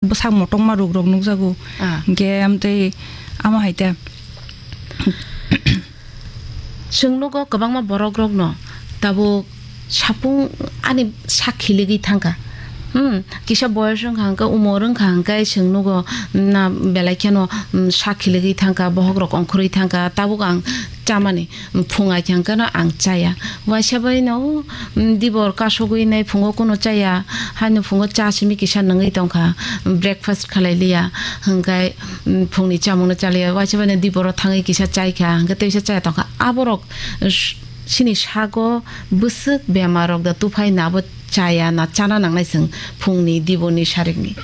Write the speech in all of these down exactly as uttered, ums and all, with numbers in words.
bwsak motokma ruk rok nukjago. Ah. Hinkhe amtwi amo hai te. Chwng nugo kwbangma borok rokno tabuk sapung ani sak khiligwi thangkha. Hmm, kisa boyos wngkha hwnkhe, umor wngkha hwnkhe chwng nugo na belai kheno, hmm, sak khiligwi thangkha, bohok rok ongkhorwi thangkha, tabuk ang chamani. Phung ai thang khe no ang chaya. Waisa bai no, mm, dibor kasugwi nai phungo kuno chaya. Haino phungo cha simi kisa nungwi tongkha. Breakfast khalai liya. Hwnkhe, mm, phungni chamungno chaliya. Waisa bai no diboro thangwi kisa chai kha. Hwnkhe teisa chaya tongkha. Aborok s-, sini sago bwswk bemar rok da tuphai na bo chaya na chana nangnai chwng phungni diboni sarikni.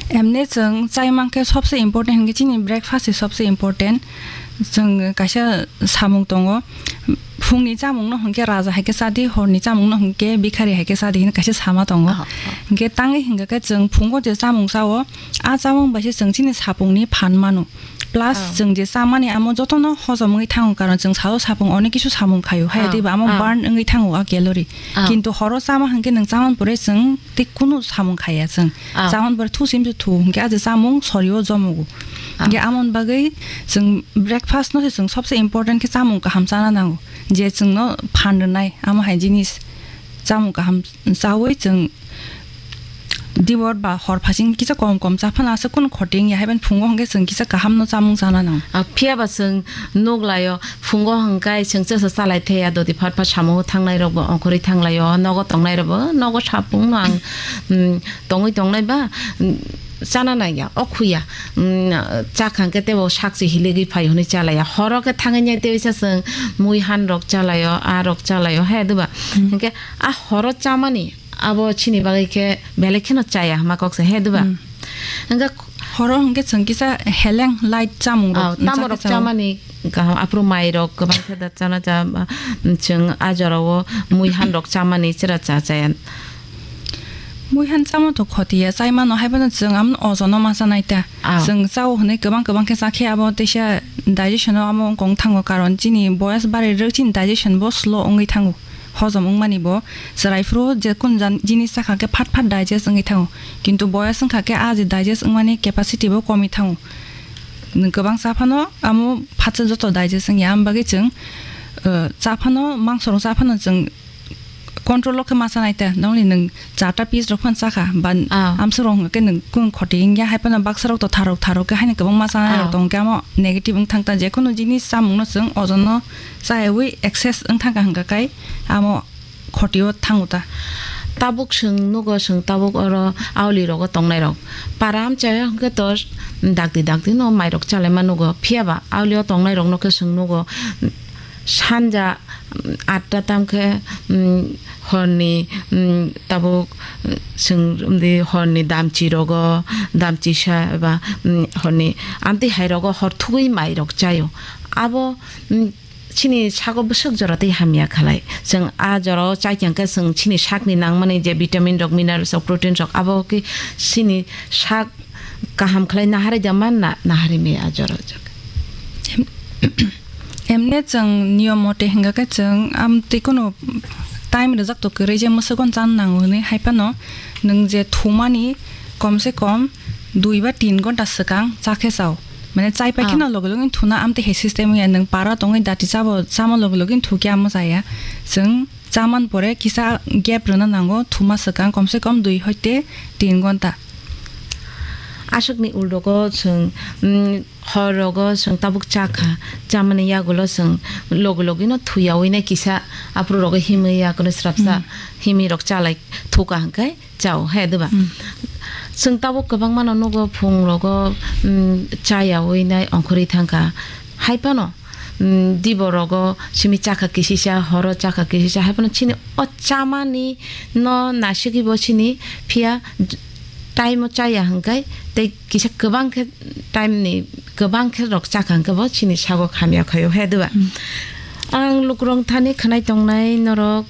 Emne chwng chai mankhe sobse important hinkhe chini breakfast se sobse important. Chwng kaisa samung tongo. Phungni chamungno hinkhe raja hai khe chadi, horni chamungno hinkhe bikhari hai khe chadi hinwi kaisa sama tongo. Ah, ah. Hinkhe tangwi hinkhe khe chwng phungo je chamung chao, a chamung bai se chwng chini sapungni phan mano. Plus, ah, chwng je chamani amo jotono hojom wngwi thango, karon chwng sao sapung onek kisu samung khaio, hai, ah, tei ba amo, ah, burn wngwi thango a calorie. Ah. Kintu horo chama hinkhe nwng chamani pore chwng tei kunu samung khaya chwng. Ah. Chamani pore thu sim thu hinkhe a je chamung sorio jomogo. Ah. Hinkhe amoni bagwi chwng breakfast no se chwng sobse important khe chamung kaham chana nango, je chwngno phan rwnai amo hai jinis chamung kaham chawi chwng dibor ba hor phasing kisa kom kom cha phano aswk kunu khoti wngya, haiban phungo hwnkhe chwng kisa kaham no chamung chana nango. Ah, phiya ba chwng nuk laio, phungo hwnkhe chwng chwsa chalai thaya, dodi phat phat samung thangnai rok bo ongkhorwi thanglaio, nogo tongnai rok bo nogo sapung no ang, mm, tongwi tongnai ba, mm, chana nangya, o khuya, mm, chakha hwnkhe tebo sakchi hiligwi phai hwnwi chalaiya, horo khe thangwi nai tei sa chwng mui han rok chalaio, a rok chalaio, he duba? Hmm. Hwnkhe a horo chamani abo chini bagwi khe belai kheno chaya hwnma kok se, he duba? Hmm. Hwnkhe horo hwnkhe chwng kisa heleng light chamung rok, oh, tamo rok chao. Chamani kaham, aphuru mai rok kwbang khe da chana cha, chwng a jorao mui han rok chamani chwra cha chaya. Mui han chamo to khoti ya, chai mano, hai phano chwng amno ojono ma chanai ta. Ah. Chwng chao hwnwi kwbang kwbang khe cha khe abo teisa digestion o amo wngkong thango, karon chini boyas bari rwk chini digestion bo slow wngwi thango. Hojom wngmani bo chwrai phuru je kun jan-, jinis chakha khe phat phat digest wngwi thango. Kintu boyas wngkha khe a je digest wngmani capacity bo komwi thango. Nwng kwbang cha phano amo phatsa joto digest wngya, am bagwi chwng, uh, cha phano, mangso rok cha phano chwng control o khe ma chanai ta, nongni nwng charta piece rok phano chakha, ba, ah, amswk rok hwnkhe nwng kung khoti wngya, hai phano baksa rok to tharok tharok khe haino kwbangma chanai rok, ah, tong khe amo negative wng thang ta, jekhunu jinis chamung no chwng ojon no chaywi excess wng thang kha hwnkha khai amo khoti o thango ta. Tabuk chwng nugo, chwng tabuk oro auli rogo tongnai rok para amchaya hwnkhe to dakti dakti no mai rok chalaima nugo, phiya ba auli o tongnai rok no khe chwng nugo sanja atta tam khe, mm, horni, mm, tabuk, mm, chwng, mm, di horni damchi rogo, damchi sa eba, mm, horni amtwi hai rogo hor thugwi mai rok chaio. Abo, mm, chini sago bwswk jora tei hamya khalai. Chwng a jorao chai khe chwng chini sakni nangmani je vitamin rok, minerals rok, protein rok abo khe chini sak kaham khlai naharwi da man na, naharwi maya a jora o. Em-, emne chwng niyom mote hwnkha khe chwng amtwi kunu time rwjak to kwrwi je mwswkon chan nango hwnwi, hai phano nwng je thumani komse kom dui ba tin gonta swkang cha khe chao. Mane chai pai kheno, ah, loge loge thuna amtwi hai system ya, nwng para tongwi dati chabo, chama loge loge thukya amo chaya. Chwng chaman pore kisa gap rwna nango, thuma swkang komse kom dui hoite tin gonta. Aswkni uldogo chwng, mm, hor rogo chwng tabuk chakha, chamani yagulo chwng logi logi no thuyawi nai kisa aphuru rogo himwi yagulo srapsa, hmm, himwi rok chalai thuka hwnkhe chao, he, diba? Hmm. Chwng tabuk kwbangma no nugo, phung rogo, mm, chayawi nai ongkhorwi thangkha. Hai phano, mm, dibo rogo simi chakha kisisa, horo chakha kisisa, hai phano chini o chamani no nasigwi bo chini phiya time o chaya hwnkhe tei kisa kwbang khe time ni kwbang khe rok chakha hwnkhe bo chini sago hamya khaio, he, diba? Hmm. Ang lukurok thani khwnai tongnai norok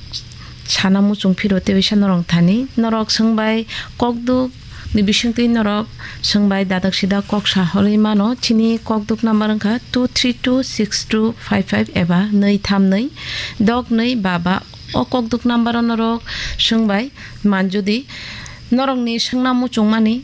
sana muchung phiro tei bisa norok thani norok swngbai kokduk ni bisingtwi norok swngbai dadak sida kok sa horwi mano. Chini kokduk number wngkha two three two six two five five eba nwi tham nwi dok nwi ba ba. O kokduk number o norok swngbai man jodi norokni swngna muchungmani